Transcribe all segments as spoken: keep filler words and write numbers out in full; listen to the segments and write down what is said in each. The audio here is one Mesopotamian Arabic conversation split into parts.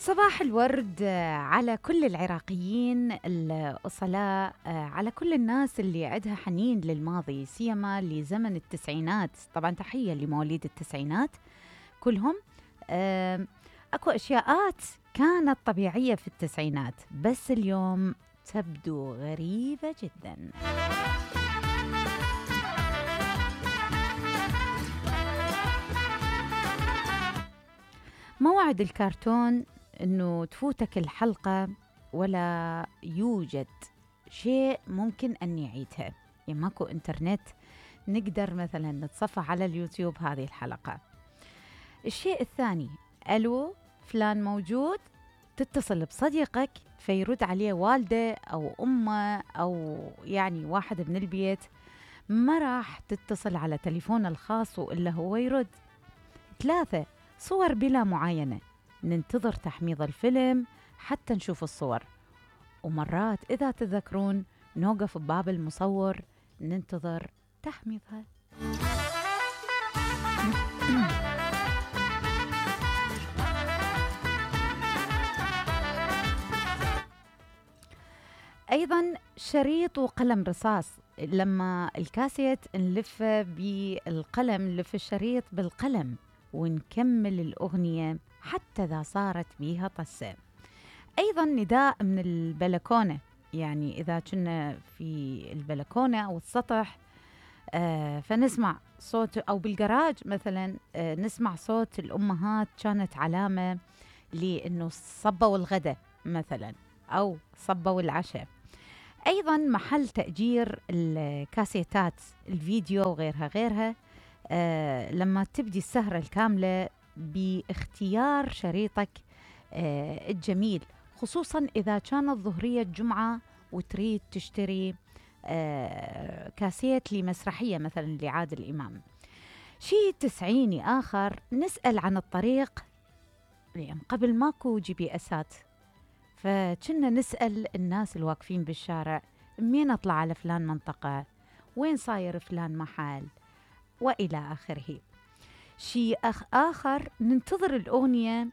صباح الورد على كل العراقيين الأصلاء، على كل الناس اللي عندها حنين للماضي، سيما لزمن التسعينات. طبعا تحية لمواليد التسعينات كلهم. أكو أشياءات كانت طبيعية في التسعينات بس اليوم تبدو غريبة جدا. موعد الكرتون انه تفوتك الحلقة ولا يوجد شيء ممكن ان نعيدها، يعني ماكو انترنت نقدر مثلا نتصفح على اليوتيوب هذه الحلقة. الشيء الثاني، الو فلان موجود، تتصل بصديقك فيرد عليه والده او امه او يعني واحد من البيت، ما راح تتصل على تليفونه الخاص والا هو يرد. ثلاثة، صور بلا معاينة، ننتظر تحميض الفيلم حتى نشوف الصور، ومرات إذا تذكرون نوقف بباب المصور ننتظر تحميضها. أيضا شريط وقلم رصاص، لما الكاسيت نلفه بالقلم نلف الشريط بالقلم ونكمل الأغنية حتى إذا صارت بيها طسة. أيضا نداء من البلكونة، يعني إذا كنا في البلكونة أو السطح آه فنسمع صوت، أو بالجراج مثلا آه نسمع صوت الأمهات، كانت علامة لأنه صبوا الغداء مثلا أو صبوا العشاء. أيضا محل تأجير الكاسيتات الفيديو وغيرها غيرها، آه لما تبدي السهرة الكاملة باختيار شريطك آه الجميل، خصوصا إذا كانت ظهرية جمعة وتريد تشتري آه كاسيت لمسرحية مثلا لعادل إمام. شيء تسعيني آخر، نسأل عن الطريق، يعني قبل ماكو جي بي اسات، فكنا نسأل الناس الواقفين بالشارع مين أطلع على فلان منطقة، وين صاير فلان محل، وإلى آخره. شيء أخ آخر، ننتظر الأغنية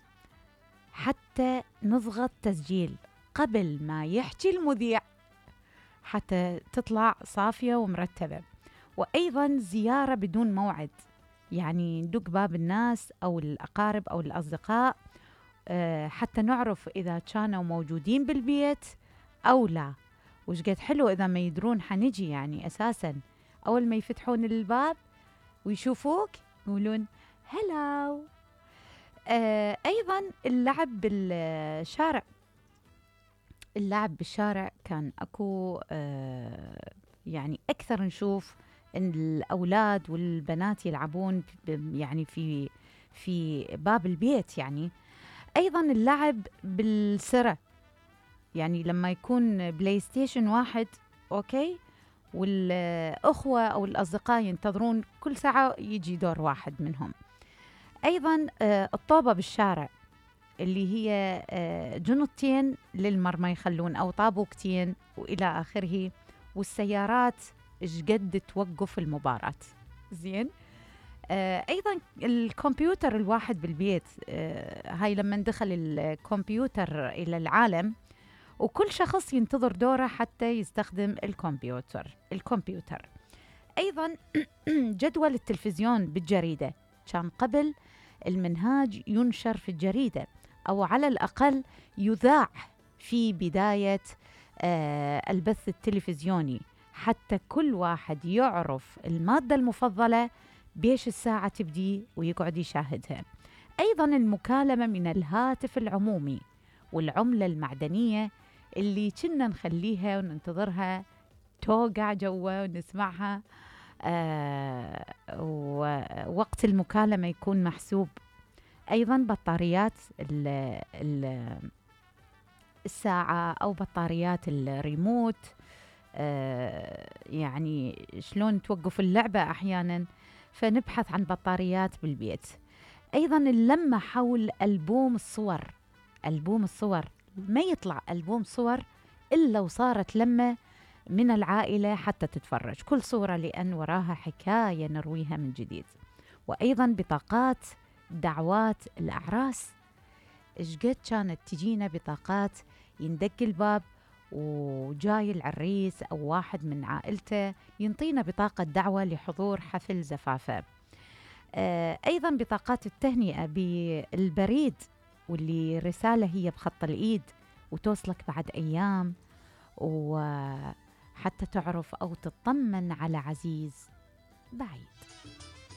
حتى نضغط تسجيل قبل ما يحكي المذيع حتى تطلع صافية ومرتبة. وأيضا زيارة بدون موعد، يعني ندق باب الناس أو الأقارب أو الأصدقاء أه حتى نعرف إذا كانوا موجودين بالبيت أو لا. وش قد حلو إذا ما يدرون حنجي، يعني أساسا أول ما يفتحون الباب ويشوفوك يقولون هلاو. آه أيضا اللعب بالشارع، اللعب بالشارع كان أكو آه يعني أكثر نشوف إن الأولاد والبنات يلعبون يعني في في باب البيت. يعني أيضا اللعب بالسرة، يعني لما يكون بلاي ستيشن واحد أوكي والأخوة أو الأصدقاء ينتظرون كل ساعة يجي دور واحد منهم. أيضا آه الطوبة بالشارع اللي هي آه جنطتين للمرمى يخلون أو طابوكتين وإلى آخره. والسيارات إيش قد توقف المباراة زين. آه أيضا الكمبيوتر الواحد بالبيت، آه هاي لما دخل الكمبيوتر إلى العالم وكل شخص ينتظر دوره حتى يستخدم الكمبيوتر الكمبيوتر أيضا جدول التلفزيون بالجريدة، كان قبل المنهاج ينشر في الجريدة أو على الأقل يذاع في بداية آه البث التلفزيوني حتى كل واحد يعرف المادة المفضلة بيش الساعة تبدي ويقعد يشاهدها. أيضا المكالمة من الهاتف العمومي والعملة المعدنية اللي كنا نخليها وننتظرها توقع جوا ونسمعها آه ووقت المكالمة يكون محسوب. أيضا بطاريات ال ال الساعة أو بطاريات الريموت، آه يعني شلون توقف اللعبة أحيانا، فنبحث عن بطاريات بالبيت. أيضا اللمة حول ألبوم الصور، ألبوم الصور ما يطلع ألبوم صور إلا وصارت لمة من العائلة حتى تتفرج كل صورة، لأن وراها حكاية نرويها من جديد. وأيضا بطاقات دعوات الأعراس إشقد كانت تجينا بطاقات يندق الباب وجاي العريس أو واحد من عائلته ينطينا بطاقة دعوة لحضور حفل زفافه. آه أيضا بطاقات التهنئة بالبريد، واللي رسالة هي بخط الإيد وتوصلك بعد أيام، وحتى تعرف أو تطمن على عزيز بعيد.